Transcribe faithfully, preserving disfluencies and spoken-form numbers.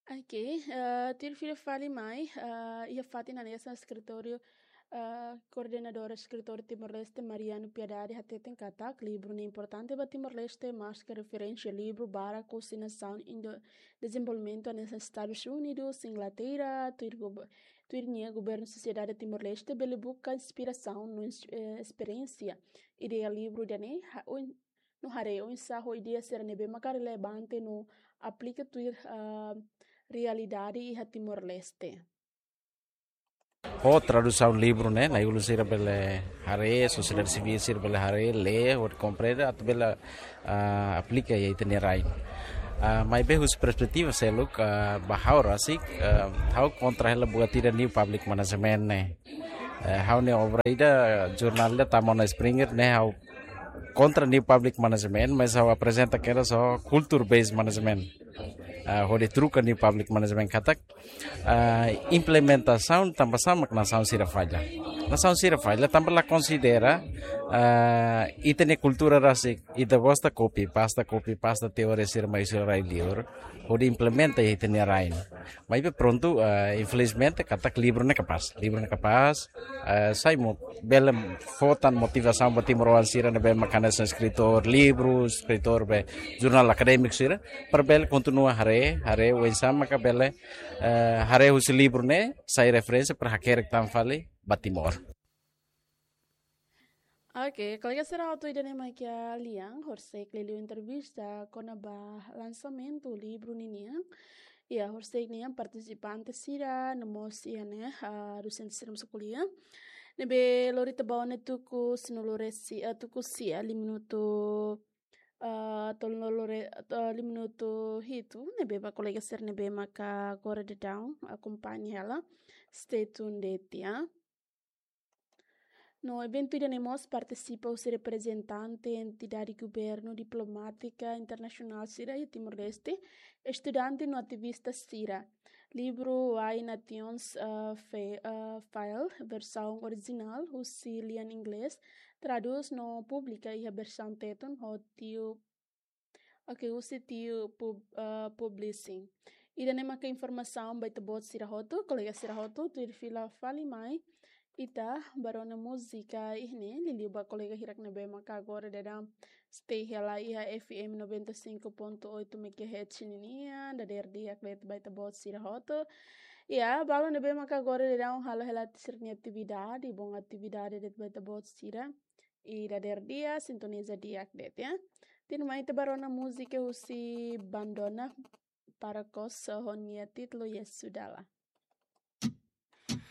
Ok, eh, tuir fila fali mai, eh, iha fatin hanesan eskritóriu, eh, koordenadora eskritór Timor-Leste Mariano Piedade hateten katak livru ne'e importante ba Timor-Leste, maske referénsia livru barak husi nasaun indo-, dezenvolvimentu hanesan Estadus Unidus, Inglaterra, tuir gob-, tuir nia governu sosiedade Timor-Leste bele buka inspirasaun no ins-, eh, esperiénsia. Ideia livru ida-ne'e, ha-, oin-, no haree oinsá ho ideia sira ne'ebé maka relevante no aplika tuir, ah, realidade iha Timor-Leste. Ho tradusaun livru ne'e, nai-ulun sira bele haree, sosiedade sivíl sira bele haree, lee, hodi komprende, atu bele, ah, aplika iha ita-nia rain. Ah, maibé husi perspetiva seluk, ah, ba ha'u rasik, ah, ha'u kontra hela buat ida new public management ne'e. Eh, ha'u-nia obra ida, jornál ida tama ona Springer ne'e, ha'u kontra new public management, mas ha'u aprezenta kedas ho culture based management. Ah, hodi troka new public management katak, ah, implementasaun tanba sá mak nasaun sira falla. Nasaun sira falla tanba la konsidera, ah, ita-nia kultura rasik, ita gosta copy pasta, copy pasta teoria sira mai husi rai liur, hodi implementa iha ita-nia rain. Maibé prontu, ah, infelizmente, katak livru ne'e kapás. Livru ne'e kapás, ah, sai mo-, bele fó tan motivasaun ba timoroan sira ne'ebé maka hanesan eskritór livru, eskritór be jornál akadémiku sira, para bele kontinua haree, haree oinsá maka bele, eh, haree husi livru ne'e, sai referénsia para hakerek tan fali ba Timor. Ok, kolega sira hotu, ida-ne'e mak iha lian, horisehik liuliu entrevista kona-ba lansamentu livru ninian. Iha horisehik nian partisipante sira, no mós iha ne'e, ah, dosente sira mós ko'alia. Ne'ebé lori ita ba ona tuku sanulu-resin, ah, tuku sia, lima minutu, ah, tolunulu-re-, ah, lima minutu hitu, ne'ebé ba kolega sira ne'ebé maka agora daudaun akompaña hela. Stay tuned de'it, ya. No eventu ida-ne'e mós partisipa husi reprezentante entidade governu, diplomátika internasionál sira iha Timor-Leste, estudante no ativista sira. Livru Why Nations, eh, Fa-, eh, Fail, versaun orijinál husi lian inglés, tradús no publika iha versaun Tetun ho Tiu Ok, husi Tiu Pub-, eh, Publishing. Ida-ne'e maka informasaun ba ita-boot sira hotu, kolega sira hotu, tuir fila fali mai ita ba rona múzika iha ne'e, liuliu ba kolega hirak ne'ebé maka agora daudaun stay hela iha F M noventa e cinco ponto oito megahertz ninian, dadeer di'ak de'it ba ita-boot sira hotu. Ya, balu ne'ebé maka agora daudaun halo hela sira-nia atividade, bom atividade de'it ba ita-boot sira. I dadeer di'ak, sintoniza di'ak de'it, ya. Tuirmai ita ba rona múzika husi Bandona para Kos ho nia títulu Yesu Dala.